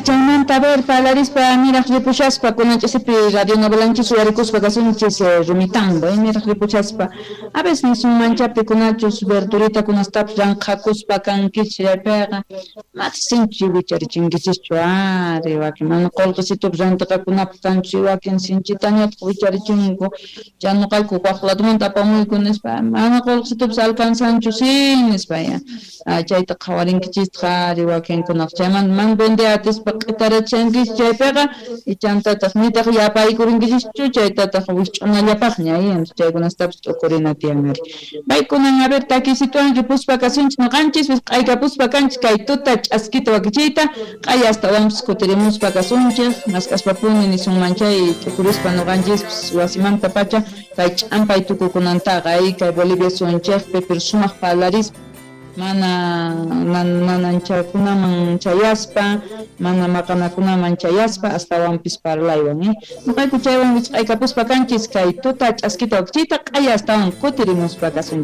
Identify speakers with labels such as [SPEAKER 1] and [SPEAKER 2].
[SPEAKER 1] Chaymanta a ver parlarispa niraj ripushaspa kunan ch'isipi radionovelanchis uyarikuspa kasunchis Rumitambo, niraj ripushaspa a veces nisunmancha pikunachus verduritakunastapis ranqhakuspa kankichis chaypiqa matas sinchi wicharichinkichikchu ari wakin mana qullqisitupis rantiqakunapaq kanchu wakin sinchitañataq wicharichinku chay nuqayku waq ladomanta apamuyku nispa mana qullqisitupis alcanzanchu si nispa ya chayta qhawarinkichistaq ari wakinkunaqa chaymanta mana vende atispa q'itarachankichis chaypiqa chantataq nitaq yapaykurinkichikchu chaytataq wikch'unallapaqña chaykunastapis t'ukurina tiyan ari. Paykunan a ver takisituwan ripuspa kasunchis nuqanchis q'aykapuspa kanchis kay tuta ch'askita wakichiyta q'aya astawanpis kutirimuspa kasunchik mask'aspapuni nisunman chay t'ukurispa nuqanchispis wasimantapacha kay ch'ampay tukukunantaqa kay Bolivia suyunchikpi pero sumaq parlarispa mana nananchakunaman chayaspa mana maqanakunaman chayaspa astawanpis parlaywan nuqayku chaywan wisq'aykapuspa kanchis kay tuta ch'askita wakichiyta q'aya astawan kutirimuspa kasunchis.